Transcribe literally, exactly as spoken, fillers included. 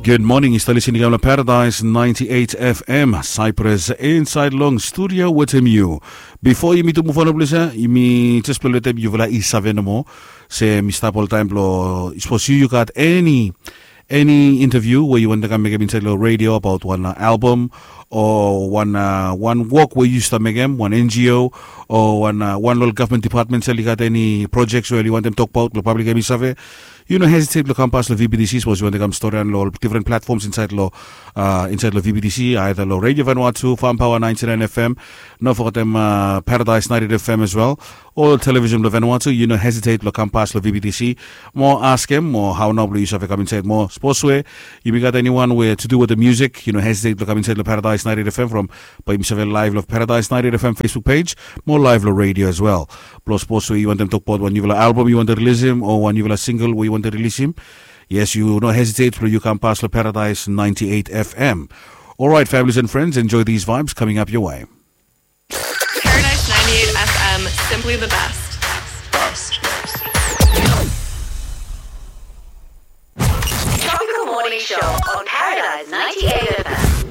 Gud moning, yu stap lisin i kam long Paradise ninety eight F M Cyprus, insaed long studio wetem yu. Bifo yumi tu muv on long ples ya, yumi jes blong letem yufala i save nomo se mi stap oltaem blong, sapos yu yu gat eni eni interview we yu wantem kam mekem insaed long radio abaot wan album o wan wan wok we yu stap mekem, wan N G O o wan wan long ol gavman depatments oli gat eni projects we oli wantem tokbaot blong pablik hem i save, yu no hesitate blong kam pas long V B T C sapos yu wantem kam storian long ol different platforms insaed long insaed long V B T C, either long Radio Vanuatu, Farm Power ninety nine F M, no fogetem Paradise ninety eight F M as well, o television blong Vanuatu. Yu no hesitate blong kam pas long V B T C mo askem mo hao nao blong yu save kam insaed mo. Sapos we yumi gat eniwan we to do with the music, yu no hesitate blong kam insaed long Paradise ninety eight F M from bae yumi save live long Paradise ninety eight F M Facebook page mo live long radio as well. Blong sapos we yu wantem tokbaot wan nufala album yu wantem rilisim o wan nufala single we yu wantem rilisim, yes, yu no hesitate blong yu kam pas long Paradise ninety eight F M. Alright, families and friends, enjoy these vibes coming up your way. Paradise ninety eight F M, simply the best. Tropical Morning Show on Paradise ninety eight.